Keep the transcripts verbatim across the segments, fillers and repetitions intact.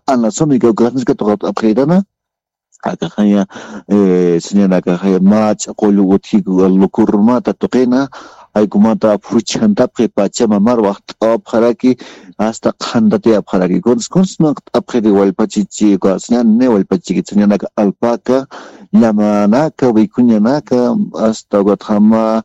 Ana Sumika ukaxniska tuqapxirana. Akaxaya, eh, señanakaxaya mach'a qullu utjiku lukurmata tuqina, jaykumata phuchhantapxi pachama mar waqt'apxaraki, hasta qhantatiyapxaraki. Kuns, kuns maqt'apxiri wallpachichi, uka señan ni wallpachiki, señanaka alpaca, llamanaka, wikuñanaka, hasta ukatxama,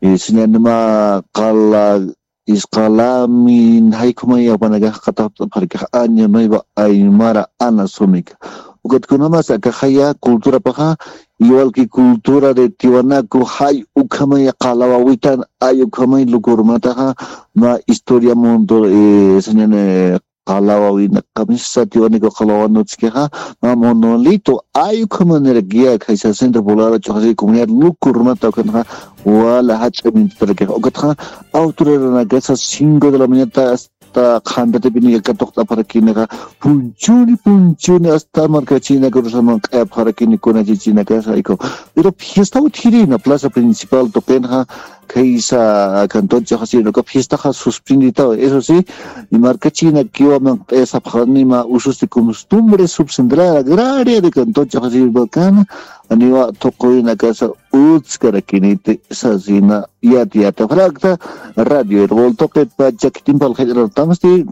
eh, señanima qala, isqalamin, jaykhumaya upanakax qatapxarakax año nuevo aymara ana sumika. Ukatkunamas akaxaya culturapaxa, igual que cultura de Tiwanaku, jay ukhamaya qala wawitan, ay ukhamay lukurmataxa, ma historia mundo, eh, señane, qala wawina kamisa Tiwanaku qala wawanutskixa, ma monolito, ay ukhamanirakiya, khaysa centro poblado chuxasi comunidad lukurmata ukhanxa, wala jach'a mintutarakixa. Ukatxa, autoridadnakasa cinco de la mañana hasta qhantatipini katuqt'apxarakinixa, punchuni, punchuni, hasta markachinakurusaman q'ayapxarakini kunachichinakasa, ayku. Pero fiesta utjirina, plaza principal tuqinxa, khaysa cantón Chajachirinaka fiestaxa suspenditawa. Eso sí, markachinakiwa manq'ayasapxani ma usos de costumbres subcentrales agraria de cantón Chajachirinakana, aniwa tuqurinakasa utskarakiniti sasina yati yatapxarakta, Radio Erbol tuqitpacha khitin phalqhillarartamsti,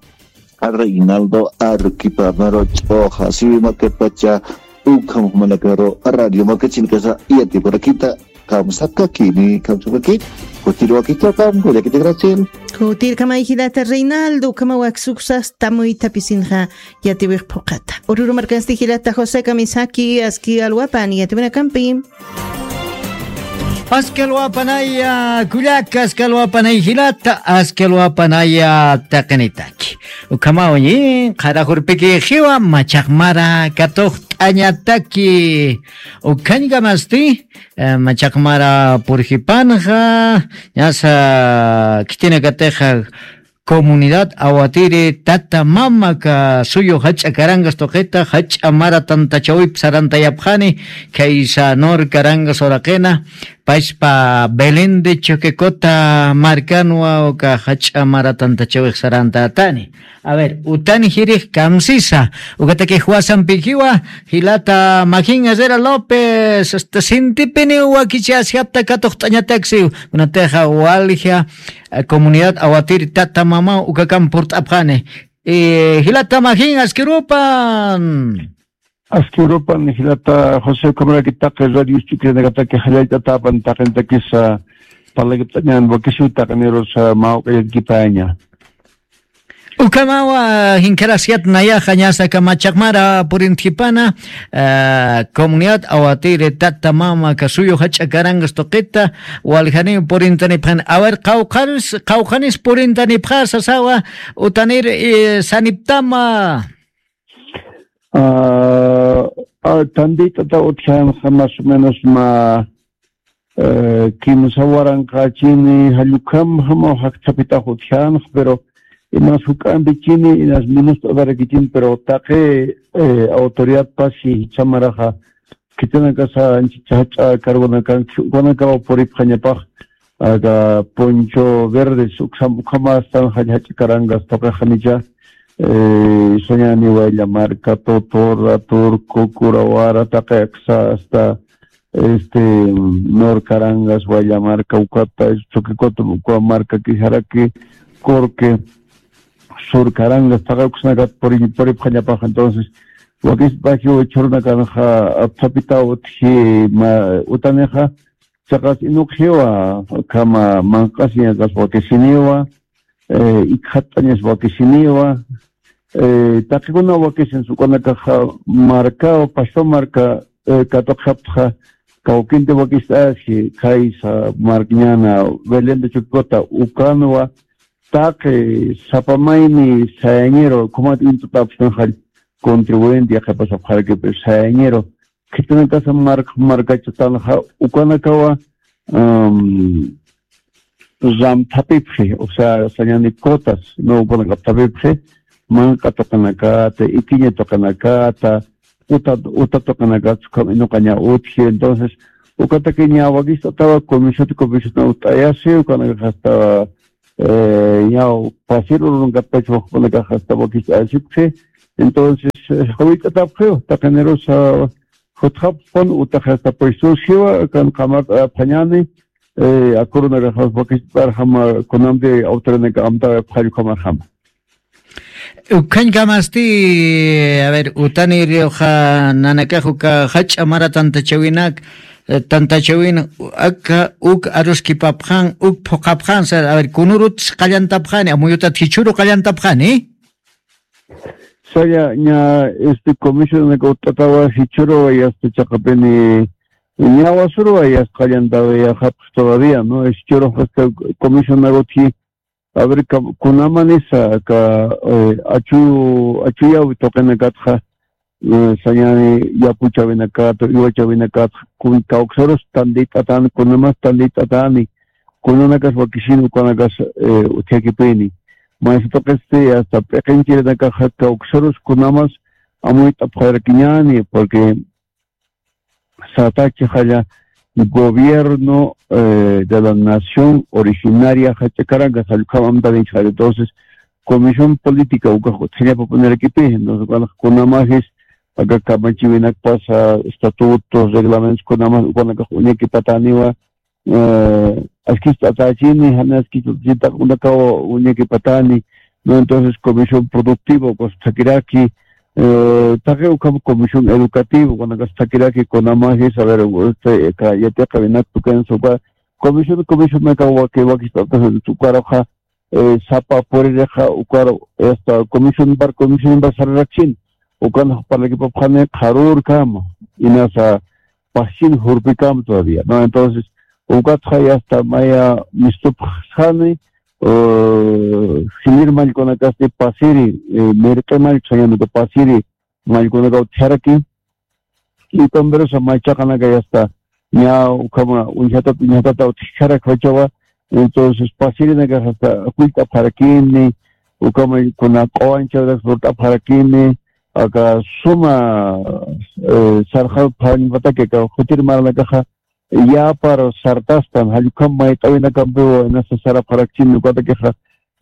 Reinaldo Arequipa mero ch'uxa, siwi markatpacha, ukham jumanakaru, Radio Markachinakasa yatipurakita, kamsakakini, kamsakakini, kutirwakitapam, kullakita Graciel. Kutirkamay jilata Reinaldo, ukhama waksuksa tamuytapisinxa yatiwix phuqata. Ururu markansti jilata José Kamisaki, aski alwapan, yatiwinakampi. Askalwapanaya kullaka, askalwapanaya jilata, askalwapanaya taqinitaki. Ukhamaw ñi, qharajurpiki jiwa, machaqmara katuqt'añataki. Ukhañkamasti, eh, machaqmara purjipanxa, ñasa khitinakatixa, Comunidad Awatiri tata mama ka suyu jach'a karangas tuqita, jach'a mara tantachawip sarantayapxani, khaysa Nor Karangas uraqina, paspa Belén de Choquecota markanwa uka jach'a mara tantachawix sarantatani. A ver, utani jirix kamsisa, ukataki juwasampikiwa, jilata Majin Herrera López, hasta sintipini wakichasjapta katuqt'añataksi, kunatixa walja, eh, comunidad Awatiri tata mama ukakam purt'apxani. Eh, jilata Majin, askirupan. Askirupan, jilata José, ukhamaraki taqi radio escuchanakataki jallayt'atapan taqintakisa parlakipt'añan wakisiw taqinirusa mawk'ayakipaña. Ukhamawa, jinkharasiyat nayaxa ñasa kamachaqmara purintjipana, eh, comunidad Awatiri tata mama kasuyu jach'a karangas tuqita, waljani purintanipxani. A ver, qawqhanis, qawqhanis purintanipxa sasawa, utanir, eh, saniptama. Ah, ah, tantitata utjanxa más o menos ma, eh, kimsa waranqachini, jallukhamjama jakthapitax utjanxa, pero inas juk'ampichini, inas minust'atarakichin, pero taqi, eh, autoridad pasi jichhamaraxa, khitinakasa anchicha jach'a cargonakan, ukanakaw puripxañapax, aka Poncho Verdes, uksam, ukhama astan jach'a, jach'a karangas tuqixanicha, eh, sañani Waylla Marca, Totora, Turco, Curawara, taqi aksa hasta, este, Nor Carangas, Waylla Marca, ukata, Choquecota, uka marka kijaraki, Corque, Sur Carangas, taqi uksnakat puri, puripxañapax, entonces, wakis bajiw chhurunakanxa, apthapitaw utji, ma, utanixa, Chiqas inuqjiwa, ukhama manq'asiñakas wakisiniwa, eh, ikxatt'añas wakisiniwa, eh, taqikuna wakisinis ukanakaxa markaw, pastor marka, eh, katuqxaptxa, kawkinti wakist'asi, khaysa markñana, Belén de Chocota, ukanwa, taqi sapa mayni sayañiru, ukhamat intutapxtanxall contribuyente yaqhipasapxarakipi sayañiru, khitinakasa mark-, markachatanxa ukanakawa, am, ramthapipxi, o sea, sañani cuotas, no, ukanaka apthapipxi, manq'a tuqinakata, ikiña tuqinakata, uta, uta tuqinakata, ukham inuqaña utji. Entonces, ukatakiña wakist'atawa, comisión, comisión utt'ayasi, ukanaka hasta, eh, ñaw, pasir urunakatpacha wakpanakaxa hasta wakist'ayasipxi, Entonces, eh, jawit'atapxiw, taqinirusa jutxapxpan, utaxasta puestos jiwa, kan qamart'apxañani, eh, akurunakaxas wakist'arjama, kunamti autoridadnaka amtawayapxañukamarjama. Ukhañkamasti, a ver, utanirixa nanakax uka jach'a mara tantachawinak, eh, tantachawin aka uk aruskipapxan, uk phuqapxan, sa, a ver, kunurut qallantapxani, amuyutat jichhuru qallantapxani. Saya, ña, este, comisionaka utt'atawa jichhuru, ya está, chaqapini, ña wasuru, ya está, qallantawa, ya japxi todavía, ¿no? Jichhuru, hasta comisionaka utji, a ver, ka-, kunamanisa, ka, eh, achu, achuyawi tuqinakatxa, eh, sañani yapuchawinakata, iwachawinakata, kun kawksarus tantit'atani, kunamas tantit'atani, kunanakas wakisin ukanakas, eh, utjakipini. Maysa tuqisti, hasta p'iqinchirinakaxa kawksarus kunamas amuyt'apxarakiñani, porque satachi jalla gobierno, eh, de la nación originaria jach'akaranga jallukhamamtarinchi jalla. Entonces, comisión política ukax utjañapapunirakipi, entonces, ukanak kunamajis, aka kamachiwinakpasa, estatutos, reglamentos, kunamas, ukanakax uñakipataniwa, eh, askicht'atachini, jani askicht'atachini, taqunakaw uñakipatani, ¿no? Entonces, comisión productiva, ukas thakiraki, eh, taqi ukham comisión educativa, ukanakax thakiraki, kunamajis, a ver, este, ka, yatiqawinak tukansa, uka, comisión, comisión naka waki, wakist'atasa, ukaruxa, eh, sapa puririxa, ukar, esta, comisión bar, comisión bar sararakshin, ukan parlakipapxani qharürkama, inasa, paschin jurpikam todavía, ¿no? Entonces, ukatxa ya está maya mistupxsani, eh, jilïr mallkunakasti pasiri, eh, mirq'i mallku sañanuka pasiri mallkunaka utjaraki, y también esa machaqanaka ya está, ña ukhama uñjatata, uñjatata utjaraki wachawa, entonces pasirinaka hasta kullt'apxarakini, ukhama kuna q'uwanchawrak lurt'apxarakini, aka suma, eh, sarxapxañpataki aka jutir maranakaxa, yapar sartastan, jallukam mayt'awinakampiwa, inasa sarapxarakchini, ukatakixa,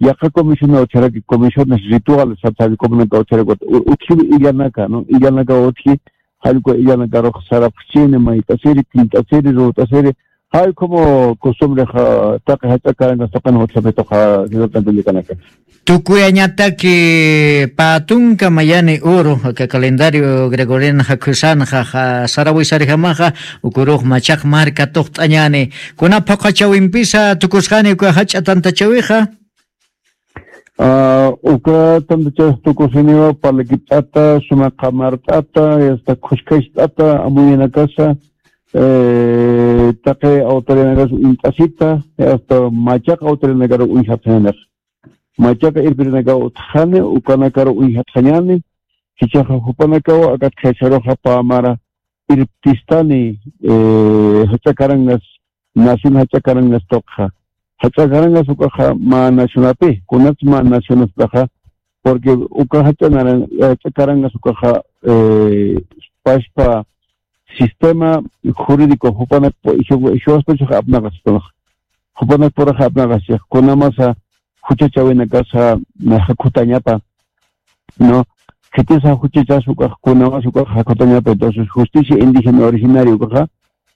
yaqa comisión utjaraki, comisiones rituales, sata jallukam naka utjaraki, u-, utjiwi illanaka, ¿no? Illanaka utji, jallukam illanakarux sarapxchini, mayt'asiri, killt'asiri, rut'asiri, jallukam costumbre ja-, taqi jach'a karangas taqin utjapituxa, señor Cantilicanaka. Tukuyañataki pä tunka mayani uru, aka calendario gregoriano jakhusanxa, ja, sarawisarjamaxa, ukurux machaq marka tuqt'añani. Kuna phuqhachawimpisa tukusxani uka jach'a tantachawixa? Ah, uka tantachawix tukusiniwa parlakipt'ata, suma qamart'ata, hasta khuskacht'ata, amuyinakasa, eh, taqi autoridadnakas uñt'asita, hasta machaq autoridadnakar uñjapxañanix. Machaqa irpirinakaw utjani, ukanakaru uñjatxañani, jichhaxa jupanakaw akat qhicharuxa pä mara irptistani, eh, jach'a karangas, nación jach'a karangas tuqxa. Jach'a karangas ukaxa mä nacionapi, kunats mä nacionastaxa, porque uka jach'a naran-, jach'a karangas ukaxa, eh, pachpa sistema jurídico jupanakpu, jiwa-, jiwaspachaxa apnaqaspax. Jupanakpuraxa apnaqaspax. Kunamasa juchachawinakasa, na, jakhutañapa, ¿no? Khitisa juchachas ukax, kunamas ukax jakhutañapa. Entonces, justicia indígena originaria ukaxa,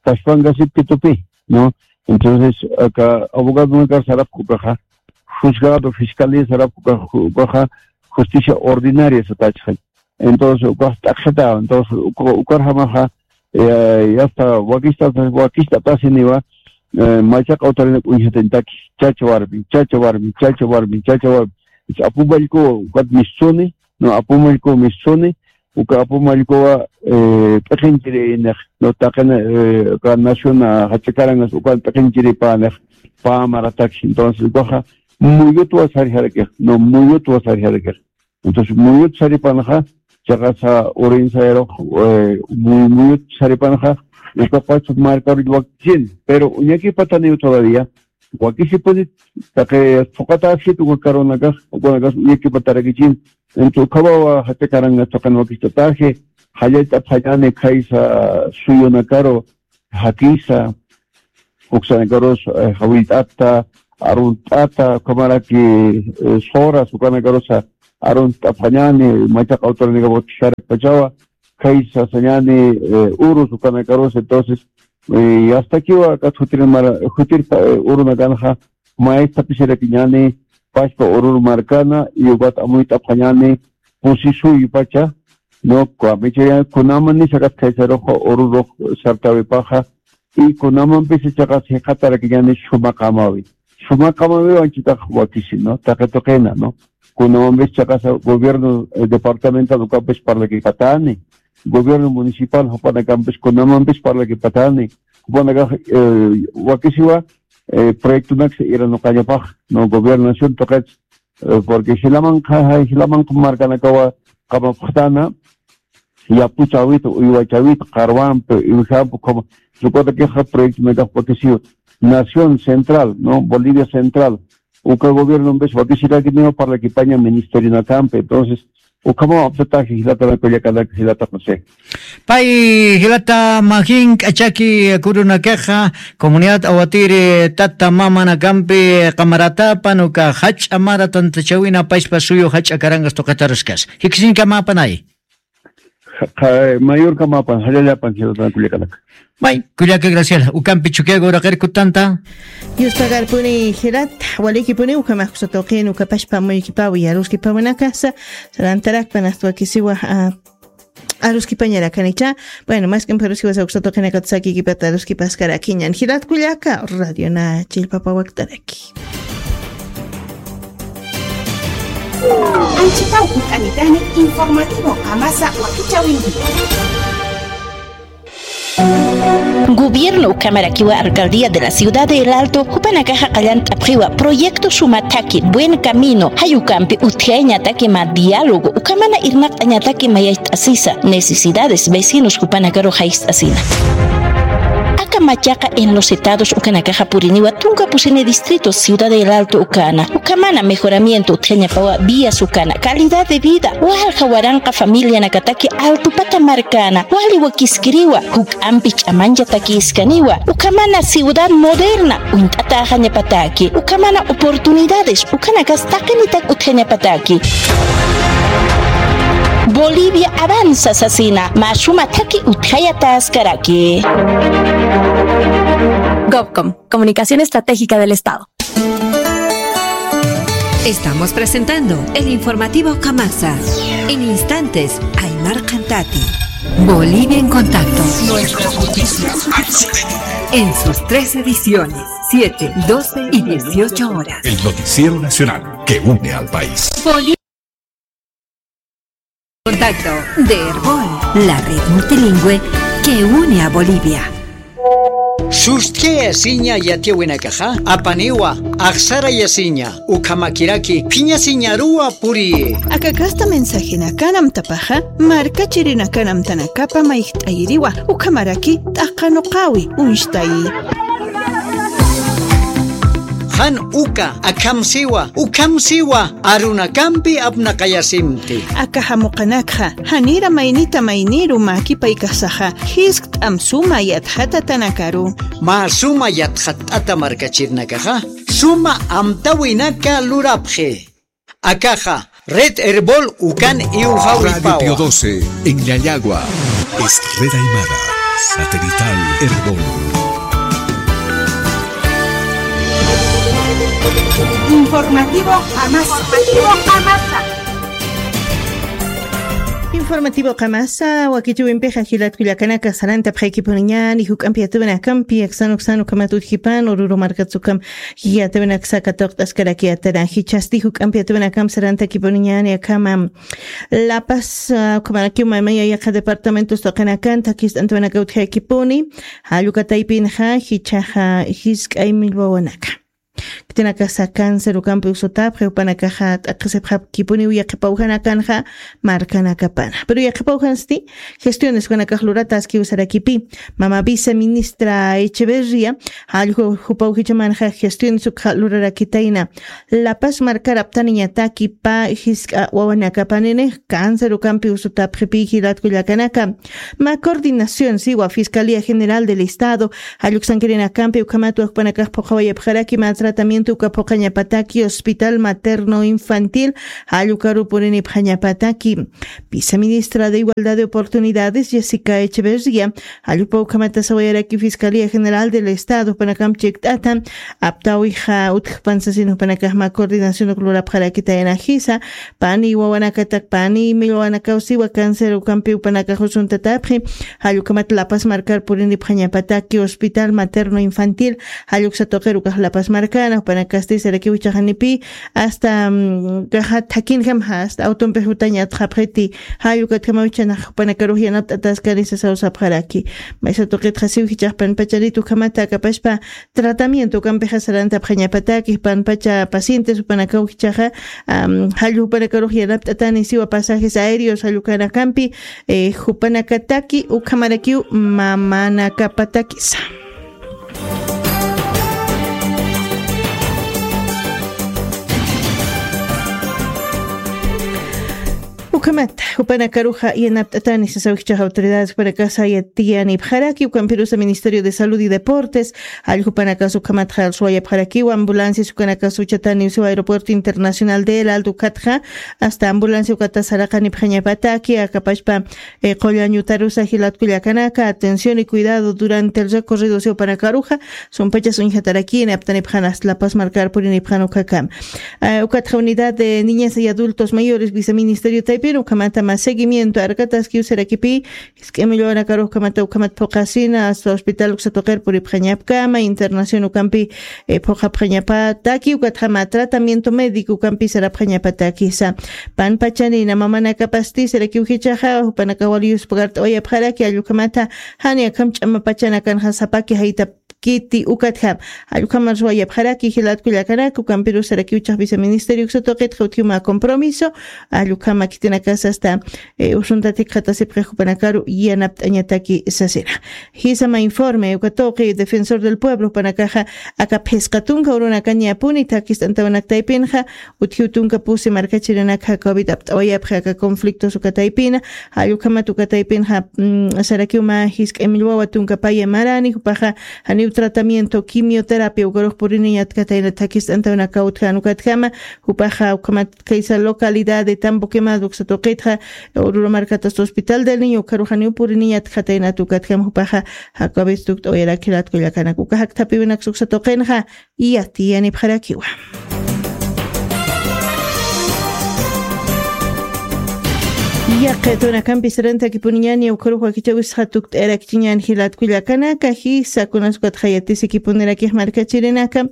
tashpangasip pitupi, ¿no? Entonces, aka abogadonakar sarapku ukaxa, juzgado, fiscalía sarapku ukaxa, ukaxa, justicia ordinaria satachxañ. Entonces, ukax t'aqhita, entonces, uka-, ukarjamaxa, eh, ya está, wakista, wakista tasiniwa, eh, machaq autoridad uñjatintaki, chacha warmi, chacha warmi, chacha warmi, chacha warmi. Apumallku, ukat mistuni, no, apumallku mistuni, uka apumallkuwa, eh, p'iqinchiri inex, no, taqina, eh, uka naciona, jach'a karangas, uka p'iqinchiri panex, pa marataki. Entonces, ukaxa, muyutwa sarjarakix, no, muyutwa sarjarakix. Entonces, muyut saripanxa, chiqasa urinsayrux, eh, muy, muyut saripanxa, ukapacha markaru wakichin, pero uñakipataniw todavía, wakisipunit, taqi phuqataskit ukakarunakax, ukanakas uñakipatarakichin, entonces, ukhawawa jach'a karangas taqin wakistataji, jallallt'apxañani khaysa suyunakaru, jakisa, uksanakarus, eh, jawillt'ata, arunt'ata, ukhamaraki, eh, soras, ukanakarusa, arun t'apxañani, machaqa autoridad votasarakpachawa, kay sasañani, eh, urus ukanakarus, entonces, eh, astakiwa akat jutir mara, jutir pa, eh, urunakanxa, maestapishirakiñani, pachpa urur markana, y ukat amuyt'apxañani, pusisuypacha, no, kwamichayan, kunaman nisakat kaysaruxa, ururux sartawipaxa, y kunamampis ichaqa siqatarakiñani sumaqamawi. Sumaqamawi wanchitax wakisi, ¿no? Taqi tuqina, ¿no? Kunamampis chaqasa gobierno, eh, departamental ukampis parlakipatani, gobierno municipal jupanakampis kunamampis parlakipatani, jupanakax, eh, wakisiwa, eh, proyectonaksa iranuqañapax, ¿no? Gobernación tuqit, eh, porque jilamanqa, jilamanqa markanakawa qamapxtana, yapuchawit, uywachawit, qarwampi, iwjampi, como, sukuta queja proyecto me capo que si Nación Central, ¿no? Bolivia Central, uka gobierno en vez de que si la que no para que paña ministerio na campe, entonces, ukama apsataje, jilata la cuya cada jilata José. Pay jilata majin k'achaki kurunakaxa, comunidad awatiri tata mamanakampi qamaratapan uka jach'a mara tantachawina pachpa suyu jach'a karangas tuqataruskas. Jikisiñkamapanay. Qa-, mayorkamapan, jallallapan, jilata kullakanaka. May, kullaka Graciela, ukampi chukiaga uraqirkutanta. Yuspagarpuni jilat, walikipuni ukhamax kusatuqin ukapashpa muykipawi, aruskipawanakasa, sarantarakpan astwakisiwa, ah, aruskipañarakanicha. Bueno, mas k'amparusiwa sawksatuqinakata sakikipata aruskipaskarakiñan. Jilat kullaka, Radio Na Chillpapa waktaraki. Anchipaw hunt'anitani informativo qamasa wakichawinki. Gobierno ukhamarakiwa alcaldía de la ciudad de El Alto, jupanakaxa qallant'apxiwa proyecto suma thaki, buen camino, jayukampi utjayañataki ma diálogo, ukhamana irnaqt'añataki mayayt'asisa, necesidades, vecinos jupanakaru jayst'asina. Aka machaqa en los estados ukanakaxa puriniwa tunka pusini distrito Ciudad del Alto ukana. Ukhamana mejoramiento utjañapawa vías ukana, calidad de vida, walja waranqa familianakataki altupata markana, wali wakiskiriwa, juk'ampi ch'amanchatakïskaniwa, ukhamana ciudad moderna, uñt'atäxañapataki, ukhamana oportunidades, ukanakas taqinitak utjañapataki. Bolivia avanza sasina, mä suma thaki utjayataskaraki. Gobcom, Comunicación Estratégica del Estado. Estamos presentando el informativo Kamasa. En instantes, Aymar Cantati. Bolivia en contacto. Nuestras noticias. En sus tres ediciones, siete, doce y dieciocho horas. El noticiero nacional que une al país. Bolivia. Contacto de Erbol, la red multilingüe que une a Bolivia. Sustiyasiña yatiyawinakaxa, apaniwa, axsarayasiña, ukhamakiraki, phiñasiñaruwa puriyi. Aka kasta mensajenakana amtapaxa, markachirinakana amtanakapa mayjt'ayiriwa, ukhamaraki t'aqanuqawi, uñstayi. Jan uka, akham siwa, ukham siwa, arunakampi apnaqayasimti. Aka jamuqanakxa, janira maynita mayniru mäkipaykasaxa, jiskt'am suma yatxatatanakaru. Mä suma yatxatt'ata markachirinakaxa, suma amtawinaka lurapxi. Akaxa, Red Erbol ukan Radio iwjawipawa. Pío doce, en Llallagua. Es Red Aymara, satelital Erbol. Informativo Jamasa. Informativo Jamasa. Informativo Qamasa, wakichiwimpixa jilat kullakanaka sarantapxaykipuniñani, juk'ampi yatiyawinakampi, aksan uksan ukhamat utjipan, ururu markats ukham yatiyawinaksa katuqt'askaraki yatana, jichhasti juk'ampi yatiyawinakamp sarantakipuniñani akhama. La Paz, ah, ukhamarakiw maymaya yaqha departamentos taqinakan, thakist'antawanaka utjaykipuni, jallukataypinxa, jichhaxa, jisk'ay millwawanaka. Khitinakasa cáncer ukampi usutapxi, jupanakaxa t'aqhisipxapkipuniw yaqhipawjanakanxa markanakapana. Pero yaqhipawjansti, gestiones ukanakax lurataskiw sarakipi. Mama viceministra Echeverria, jallju jupaw jichhamanxa gestiones ukxa lurarakitayna. La Paz markar aptaniñataki pä jisk'a wawanakapanini cáncer ukampi usutapxipi jilat kullakanaka. Mä coordinación siwa Fiscalía General del Estado, jalluksankirinakampi ukhamat wakpanakax phuqhawayapxaraki mä tratamiento uka phuqhañapataki hospital materno infantil jallukaru purinipxañapataki. Viceministra de Igualdad de Oportunidades, Jessica Echeverría, jallupa ukhamata sawayaraki Fiscalía General del Estado jupanakamp chikt'ata aptawixa utjpan sasin jupanakaxma coordinación uk lurapxarakitayana jisa, pani wawanakatak pani millwanakaw siwa cáncer ukampi jupanakax usuntatapxi. Jallukhamat Lapas markar purinipxañapataki hospital materno infantil jalluksa tuqir ukax Lapas markana jupanakasti sarakiw ichaxanipi hasta mm, kaxa thakinjam hasta autompi jutañatxapxiti. Jallukatjamaw ichanax jupanakarux yanapt'ataskani sasaw sapxaraki. Maysa tuqitxa siw jichaxpan pachanit ukhamata akapashpa tratamiento ukampixa sarantapxañapataki panpacha pacientes jupanakaw jichaxa, am, jallu jupanakarux yanapt'atani siwa pasajes aéreos jallukanakampi, eh, jupanakataki ukhamarakiw mamanakapatakisa. Ukhamata jupanakaruxa yanapt'atani sasaw jichaxa autoridades jupanakasa yatiyanipxaraki ukampirusa Ministerio de Salud y Deportes jallukhanakax ukhamatxa suwayapxarakiw ambulancias ukanakas uchatani usiw aeropuerto internacional del Alto ukatxa hasta ambulancia ukata saraqanipxañapataki akapashpa, eh, qullañutarusa jilatkullakanaka atención y cuidado durante el recorrido usiw panakaruxa sumpachas uñjatarakini aptanipxan hasta Lapas markar purinipxan ukhakam. Eh, ukatxa unidad de niñez y adultos mayores viceministerio taypin ukhamata mas seguimiento arkataskiw sarakipi jisk'imillwanakarux ukhamata ukhamat phuqasina hasta hospital uksa tuqir puripxañapkama internación ukampi, eh, phuqapxañapataki ukatxama tratamiento médico ukampi sarapxañapatakisa. Panpachanina mamanakapasti sarakiw jichaxa jupanakax wali yuspakart'awayapxaraki allukhamata jani akham ch'amapachanakanxa sapaki jaytap kiti ukatjam allukhamar suwayapxaraki jilatkullakanaka ukampirusarakiw chax viceministerio uksa tuqitxa utjiwma compromiso allukhama khitinakas hasta, eh, usuntatik qhatasipxi jupanakaru yanapt'añataki sasina. Jisama informe uka tuqi defensor del pueblo jupanakaxa aka phisqa tunka urunakañapuni thakist'antawanak taypinxa utjiw tunka pusi markachirinakxa covid apt'awayapxi aka conflictos uka taypina jallukhamat uka taypinxa, mm, sarakiwma jisk'imillwawa tunka paya marani jupaxa janiw tratamiento quimioterapia ukarux puriniñatkatayna thakist'antawanakaw utjan ukatjama jupaxa ukhamat kaysa localidad de Tambo Quemado uksa tuqitxa ururu markatas hospital del niño ukarux janiw puriniñatkatayna tukatjama jupaxa jakabistukt'awayarakiratkullakanak uka jakthapiwinaksa uksa tuqinxa yatiyanipxarakiwa. Yaqitunakampi sarantakipuniñani ukarux wakichawisxa tukt'ayarakichiñan jilatkullakanaka jisa kunas ukatxa yatisikipunirakixa markachirinaka.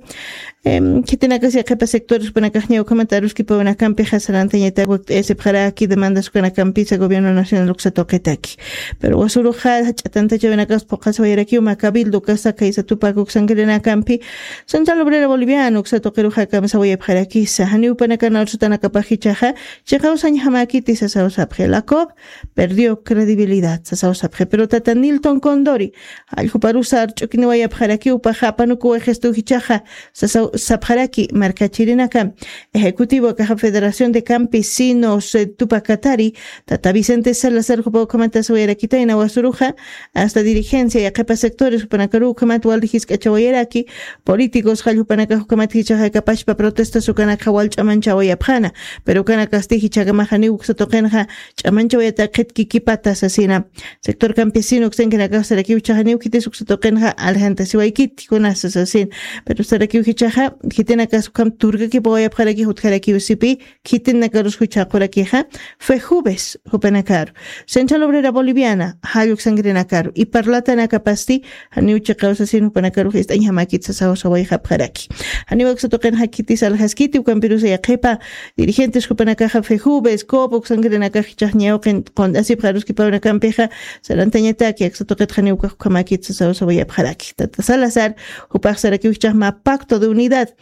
Em, khitinakas yaqhipa sectores jupanakaxña ukhamat aruskipawinakampixa sarantañatak wakt'ayasipxaraki demandas ukanakampisa gobierno nacional uksa tuqitaki. Pero wasuruxa ch'atantachawinakas phuqasawayarakiw macabildo kasa kaysa tupak uksankirinakampi Central Obrera Boliviana uksa tuqiruxa kamsawayapxarakisa janiw panakan arsutanakapax jichaxa chiqawsañjamäkiti sasaw sapxi la cop perdió credibilidad sasaw sapxi pero tata Nilton Condori alljuparusa arch'ukiniwayapxarakiw paxa apanukuwaxistu jichaxa sasaw sapxaraki markachirinaka ejecutivo akaxa Federación de Campesinos, eh, Tupac Katari tata Vicente Salazar jupa ukhamata sawayarakitayna wasuruxa hasta dirigencia yaqhipa sectores jupanakaru ukhamat wal jisk'achawayaraki políticos jalljupanakax ukhamat jichaxa kapashpa protestas ukanakxa wal ch'amanchawayapxana pero ukanakasti jichhakamaxa niw uksa tuqinxa ch'amanchawayatakxit kikipata sasina sector campesino uksankinakax sarakiw jichaxa niw khitis uksa tuqinxa aljantasiwaykiti kunasa sasin pero sarakiw jichaxa khitinakas ukham turkakipawayapxaraki jutjarakiw sipi khitinakarus juchhaqurakixa fue jueves jupanakaru Central Obrera Boliviana jalluksankirinakaru y parlatanakapasti janiw chiqawsasin jupanakarux ist'añjamakit sasawsawayxapxaraki janiw uksa tuqinxa khitis aljaskiti ukampirusa yaqhipa dirigentes jupanakaxa fue jueves cop uksankirinakax jichaxñawqin qund'asipxaruskipawinakampixa sarantañataki aksa tuqitxa niw ukax ukhamakit sasawsawayapxaraki tata Salazar jupax sarakiw jichaxma pacto de unidad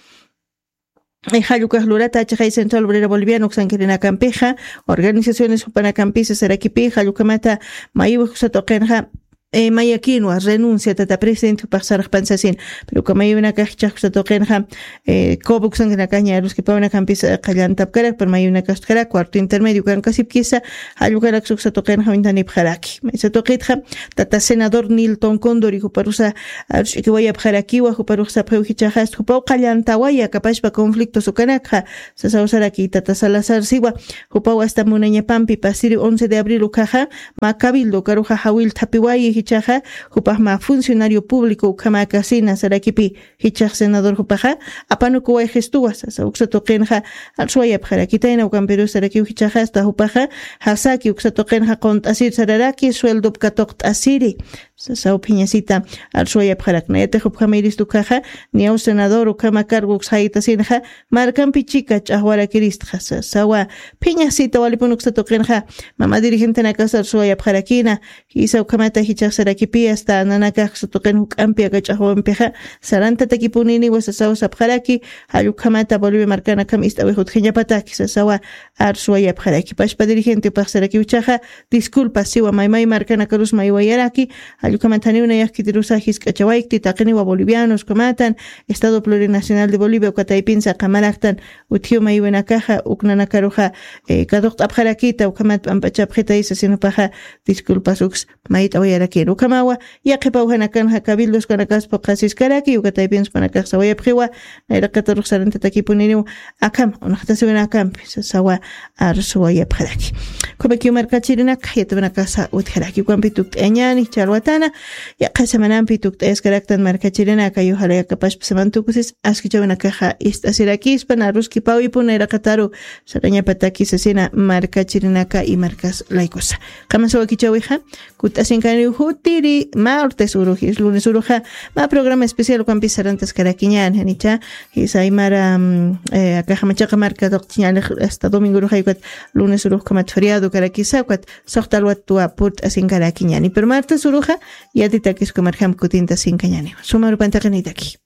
jallukaj lurata achaqay Central Obrera Boliviana uksankirinakampixa organizaciones jupanakampisa sarakipi jallukhamata mayiwaj uksa tuqinxa eh, mayakinwa renuncia tata presidente jupax sarxpan sasin. Pero uka mayuwinakax jichhax uksa tuqinxa, eh, coboxankanakax ña aruskipawinakampis, eh, qallantapkarak, pero mayuwinakax utjarak cuarto intermedio ukankasipkisa, jall ukanaksa uksa tuqinxa uñtanipxaraki. Maysa tuqitxa, tata senador Nilton Condori juparusa aruskiwayapxarakiwa, juparux sapxiw jichhaxasta jupaw qallantawaya kapashpa conflictos ukanakxa, sasaw saraki tata Salazar siwa, jupaw asta munañapampi pasiri once de abril ukhaxa, mä cabildo ukaruxa jawillthapiwayi jichhaxa, jupax mä funcionario público ukhamäkasina sarakipi, jichhax senador jupaxa, apanukuwayxistuwa sasa, uksa tuqinxa, arswayapxarakitayna ukampirus sarakiw jichhaxa, asta jupaxa, jasaki uksa tuqinxa qunt'asir sararaki, sueldop katuqt'asiri. Sasaw phiñasita arswayapxarakna. Yatix jupjamiristu ukhaxa, niyaw senador ukhama cargo uksaytasinxa, markampi chika ch'axwarakiristxa. Sasawa phiñasita walipun uksa tuqinxa, mama dirigentenakasa arswayapxarakina, jisa ukhamata jichhax sarakipi asta nanakax uksa tuqin juk'ampi aka ch'axwampixa, sarantatakipuniniwa sasaw sapxaraki, jall ukhamata Bolivia markanakam ist'awix utjañapataki, sasawa arswayapxaraki. Pashpa dirigente upax sarakiw jichhaxa, disculpas siwa maymay markanakarus maywayaraki, jall ukhamat janiw nayax khitirusa jisk'achawaykti, taqiniwa bolivianos ukhamatan, Estado Plurinacional de Bolivia uka taypinsa qamaraktan, utjiw maywinakaxa, uk nanakaruxa, eh, katuqt'apxarakita, ukhamat p'amp'achapxitaysa sasin jupaxa, disculpas uks mayt'awayarakiru. Ukhamawa, yaqhipawjanakanxa cabildos ukanakaspa qasiskaraki, uka taypinsa jupanakax sawayapxiwa, nayraqatarux sarantatakipuniniw, akham, unaxtasiwinakampi, sasawa arswayapxaraki. Ukhamakiw markachirinaka, yatipinakasa utjaraki, ukampi tukt'ayañäni, ch'alwatana, yaqha semanampi tukt'ayaskaraktan markachirinaka, yujalay akapashpa seman tukusis, askichawinakaxa ist'asirakispa, naruskipawipun nayraqataru, sarañapataki sasina markachirinaka y markas laykusa. Qamasa wakichawixa, kutt'asinkaniw jutiri martes urujis, lunes uruxa, mä programa especial ukampis sarantaskarakiñäni, janicha, jisa aymara, mm, eh, akaxa machaqa marka tuqchiñäni hasta domingo uruxa, ukat lunes urux ukhamat feriado karakisa, ukat suxta alwatwa purt'asinkarakiñäni. Pero martes uruxa, yatitakis uka marjam kutintasinkañäni. Suma arupantaqinitaki.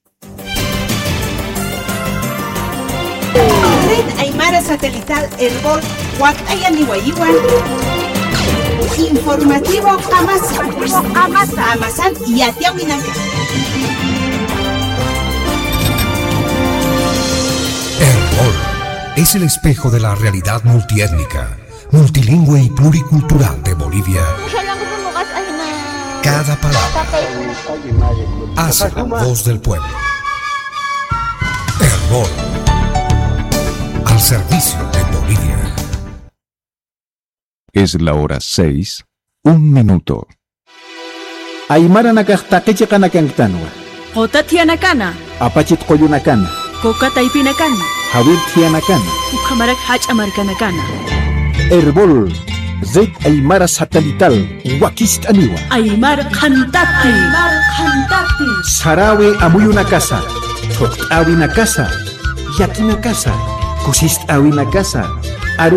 Red Aymara Satelital Erbol wakt'ayaniwayiwan. Informativo Qamasa. Qamasan yatiawinaka. Erbol es el espejo de la realidad multiétnica, multilingüe y pluricultural de Bolivia. Cada palabra hace la voz del pueblo. Erbol, al servicio de Bolivia. Es la hora seis, un minuto. Aymaranakax taqi chiqanakanktanwa. Quta thiyanakana. Apachit qullunakana. Quka taypinakana. Jawir thiyanakana. Ukhamarak jach'a markanakana. Erbol, Red Aymara Satelital, wakist'aniwa. Aymar qhantapi. Aymar qhantapi. Sarawi amuyunakasa, thuqt'awinakasa, llakinakasa, kusist'awinakasa, arus